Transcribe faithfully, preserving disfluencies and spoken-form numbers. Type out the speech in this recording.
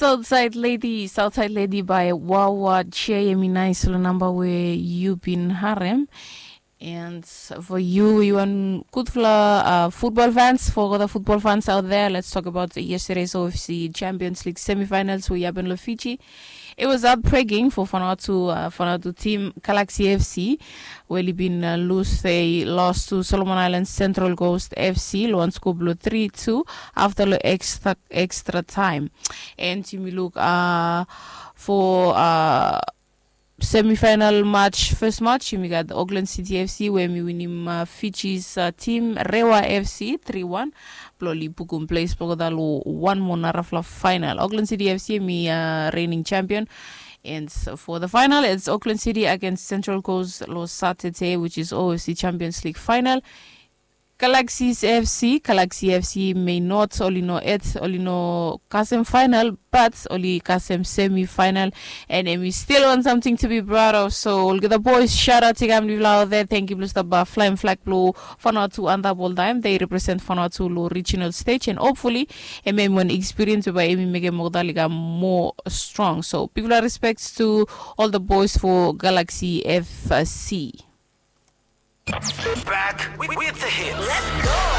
Southside Lady, Southside Lady by Wawa J. Emi nais lo namba we yu bin harem. And for you, you want Kutfula uh, football fans, for the football fans out there, let's talk about yesterday's O F C Champions League semifinals we happened lo Fiji. It was heartbreaking for Vanuatu, uh, Vanuatu team Galaxy F C, where they been uh, lose they lost to Solomon Islands Central Coast F C, lo one scoop lo three two after lo extra extra time. And yumi look uh, for uh, semifinal match, first match, yumi gat Auckland City F C where mi winim uh, Fiji's uh, team Rewa F C three one. Blo li bukum place blo gota lo one mo narafla final. Auckland City F C mi uh, reigning champion. And so for the final, it's Auckland City against Central Coast lo Saturday, which is O F C Champions League final. Galaxies F C, Galaxy F C may not oli no et oli no kasem final, but oli kasem semi final, and emi still on something to be proud of. So olgeta boys, shout out to Gamli Vlau there. Thank you, Blue Star Bar, Flying Flag Blue, Vanuatu and the whole time. They represent Vanuatu lo regional stage, and hopefully, emi emi one experience by emi make Mogdalika more strong. So people are respects to all the boys for Galaxy F C. Back with, with the hits.